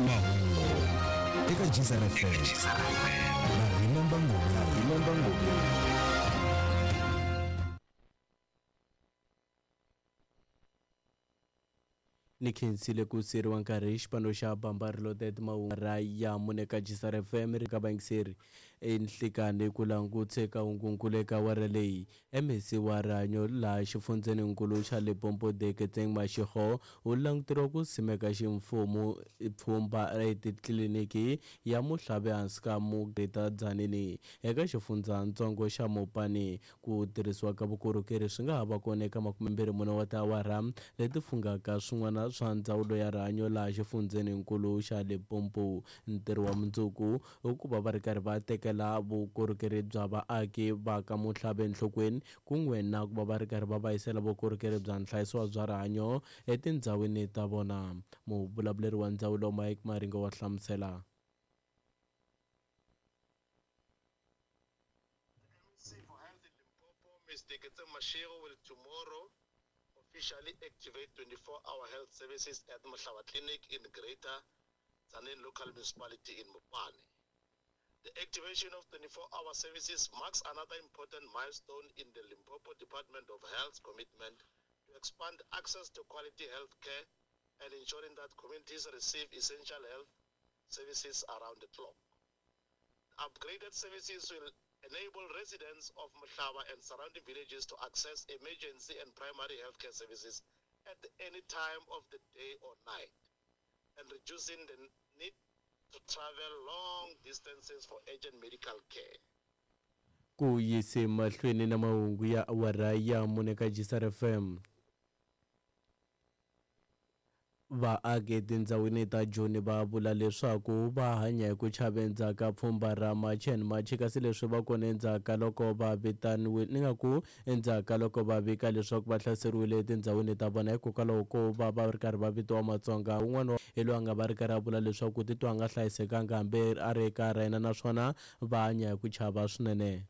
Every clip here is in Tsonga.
Mahungu eka Gzar FM na Remember Ngobeni. Ni khensile ku siyeriwa nkarhi hi xipano xa Bamba Reloaded mahungu ra ya mune ka Gzar FM ri ka vayingiseri enhlikani ku langutse ka hungunkulu eka awara leyi. MEC wa rihanyo laha xifundzheninkulu xa Limpopo Deketseng Mashego u languteriwa ku simeka ximfumo pfhumba etitliliniki ya Muhlave ehansi ka Greater Tzaneen eka xifundzhantsongo xa Mopani. Ku tirhisiwa ka vukorhokeri swi nga ha va kona eka 24 wa tiawara leti fungaka swin'wana swa ndzawulo ya rihanyo laha xifundzheninkulu xa Limpopo. Ntirho wa mundzuku i ku va va ri karhi va tekela vukorhokeri bya vaaki va ka Muhlave enhlokweni kun'we na ku va va ri karhi va va yisela vukorhokeri bya nhlayiso bya rihanyo etindhawini ta vona. Muvulavuleri wa ndzawulo Mike Maringo wa hlamusela. MEC for Health in Limpopo, Ms. Deketseng Mashego, will tomorrow officially activate 24-hour health services at Mohlaba Clinic in Greater Tzaneen Local Municipality in Mopani. The activation of 24-hour services marks another important milestone in the Limpopo Department of Health's commitment to expand access to quality health care and ensuring that communities receive essential health services around the clock. Upgraded services will enable residents of Mohlaba and surrounding villages to access emergency and primary healthcare services at any time of the day or night, and reducing the need to travel long distances for urgent medical care. Ku yise mahlweni na mahungu ya awara ya mune ka Gzar FM. Vaaki etindhawini ta Joni va vula leswaku va hanya hi ku chava endzhaku ka pfhumba ra March and March, kasi leswi va kona endzhaku ka loko va vitaniwe ni nga ku endzhaku ka loko va vika leswaku va hlaseriwile etindhawini ta vona hikokwalaho ko va va ri karhi va vitiwa Matsonga. Un'wana hi loyi a nga va ri karhi a vula leswaku titwa a nga hlayisekanga hambi a ri eka ra yena, naswona va hanya hi ku chava swinene.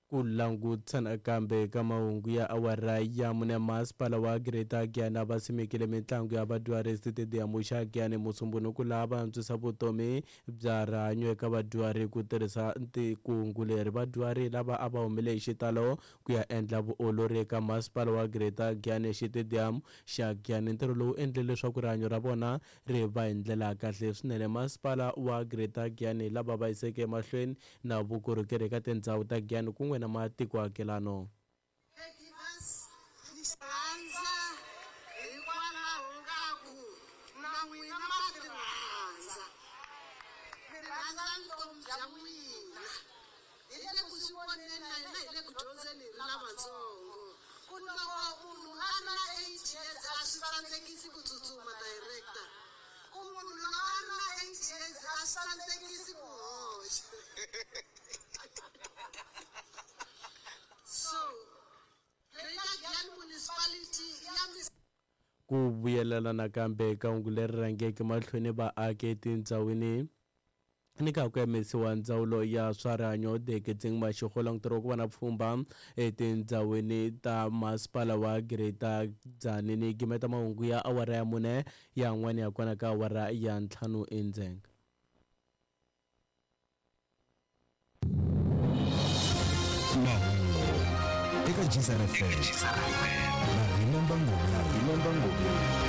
Ku langutisa nakambe ka mahungu ya awara ya mune, masipala wa Greater Giyani va simekile mitlangu ya vadyuhari exitediyamu xa Giyani Musumbhunuku laha va antswisa vutomi bya rihanyo eka vadyuhari ku tirhisa kungu leri. Vadyuhari lava a va humile hi xitalo ku ya endla vuolori eka masipala wa Greater Giyani exitediyamu xa Giyani. Ntirho lowu endle leswaku rihanyo ra vona ri va hi ndlela ya kahle swinene. Masipala wa Greater Giyani lava va yiseke emahlweni na vukorhokeri eka tindhawu ta Giyani kun'we na matiko akelano. Ku vuyelela nakambe ka hungu leri rhangeke mahlweni vaaki etindhawini ni ka ku yimisiwa ndzawulo ya swa rihanyo Deketseng Mashego languteriwa ku va na pfhumba etindhawini ta masipala wa Greater Tzaneen. Gimeta mahungu ya awara ya mune ya n'wana ya kona ka awara ya 5 endzhenga. Mahungu eka Gzar FM na Remember Ngobeni.